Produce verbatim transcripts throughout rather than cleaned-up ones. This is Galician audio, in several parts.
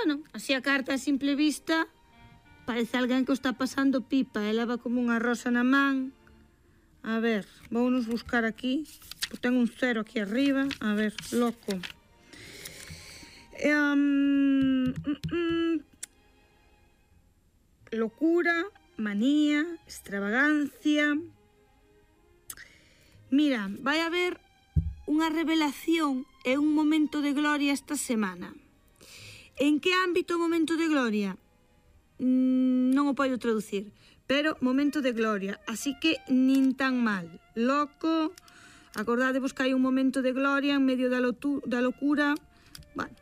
bueno, así a carta a simple vista parece alguén que o está pasando pipa, e leva como unha rosa na man. A ver, vounos buscar aquí, pues ten un cero aquí arriba. A ver, loco. Um, mm, mm, locura, manía, extravagancia. Mira, vai haber unha revelación e un momento de gloria esta semana. En que ámbito momento de gloria? Mm, non o podo traducir, pero momento de gloria, así que nin tan mal. Loco, acordadevos que hai un momento de gloria en medio da, lotu, da locura. Bueno,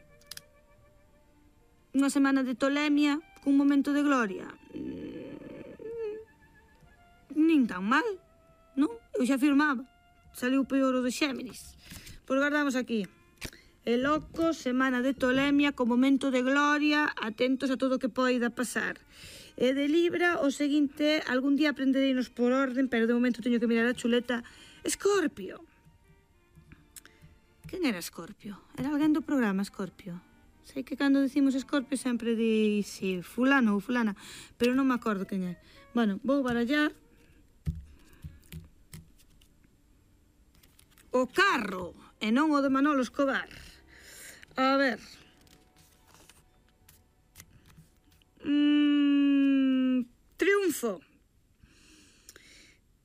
unha semana de tolemia cun momento de gloria, mm, nin tan mal, non? Eu xa afirmaba, saliu peor o de Xéminis. Pois guardamos aquí. El loco, semana de tolemia con momento de gloria, atentos a todo o que poida pasar. E de Libra, o seguinte, algún día aprendereinos por orden, pero de momento teño que mirar a chuleta. Escorpio. Quen era Escorpio? Era alguén do programa Escorpio. Sei que cando decimos Escorpio sempre di si fulano ou fulana, pero non me acordo quen é. Bueno, vou barallar. O carro, e non o de Manolo Escobar. A ver. Mm, triunfo.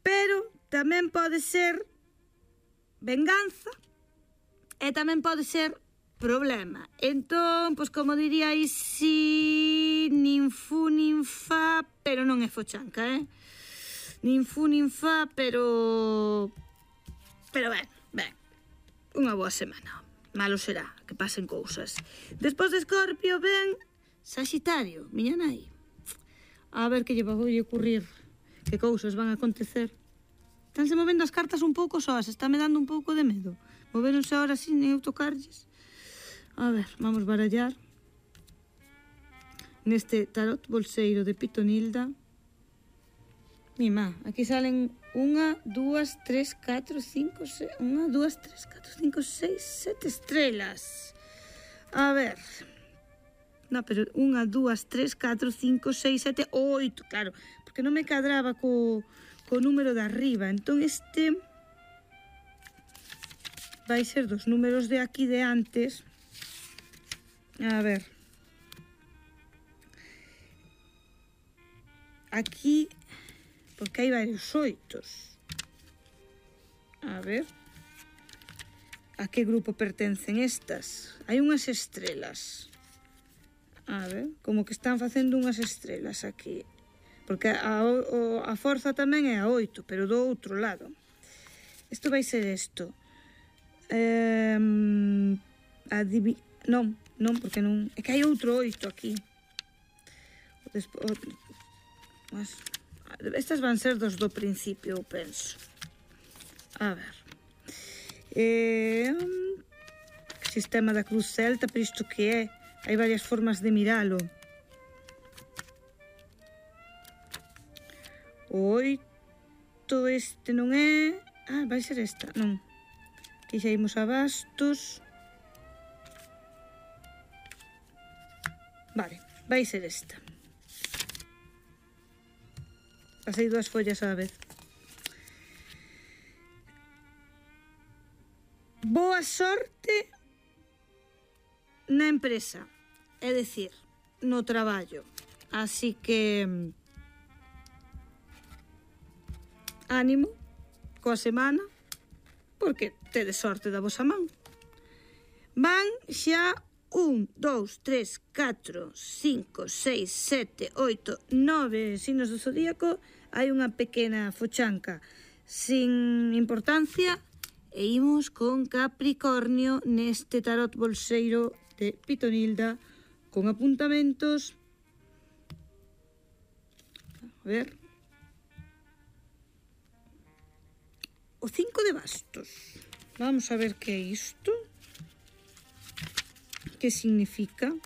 Pero tamén pode ser venganza e tamén pode ser problema. Entón, pois como diríais, si nin fu nin fa, pero non é fochanca, eh? Nin fu nin fa, pero... Pero ben, ben, unha boa semana. Malo será que pasen cousas. Despois de Escorpio ven Saxitario, miña nai. A ver que lle vai ocurrir, que cousas van a acontecer. Estánse movendo as cartas un pouco soas, está me dando un pouco de medo. Moveronse ahora sin eu tocarlles. A ver, vamos barallar. Neste tarot bolseiro de Pitonilda. Mima, aquí salen unha, dúas, tres, catro, cinco, seis... Unha, dúas, tres, catro, cinco, seis, sete estrelas. A ver... No, pero unha, dúas, tres, catro, cinco, seis, sete, oito, claro, porque non me cadraba co, co número de arriba. Entón este vai ser dos números de aquí de antes. A ver. Aquí, porque hai varios oitos. A ver. A que grupo pertencen estas? Hai unhas estrelas. A ver, como que están facendo unhas estrelas aquí. Porque a, o, a forza tamén é a oito, pero do outro lado. Isto vai ser isto. Eh, adivi... Non, non, porque non... É que hai outro oito aquí. O despo... o... Mas... Estas van ser dos do principio, eu penso. A ver. Eh... Sistema da Cruz Celta, pero isto que é? Hai varias formas de miralo. O oito este non é... Ah, vai ser esta, non. Aquí xa imos a bastos. Vale, vai ser esta. Pasei dúas follas á vez. Boa sorte na empresa. É dicir, no traballo. Así que ánimo coa semana, porque tedes sorte da vosa man. Van xa un, dous, tres, catro, cinco, seis, sete, oito, nove signos do zodíaco. Hai unha pequena fochanca sin importancia e imos con Capricornio neste tarot bolseiro de Pitonilda con apuntamentos. A ver. O cinco de bastos. Vamos a ver que é isto. Que significa?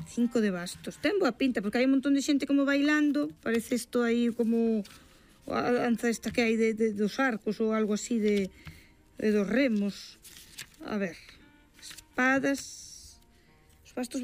Cinco de bastos. Ten boa pinta, porque hai un montón de xente como bailando. Parece isto aí como a danza esta que hai de, de, dos arcos ou algo así de, de dos remos. A ver. Espadas. Os bastos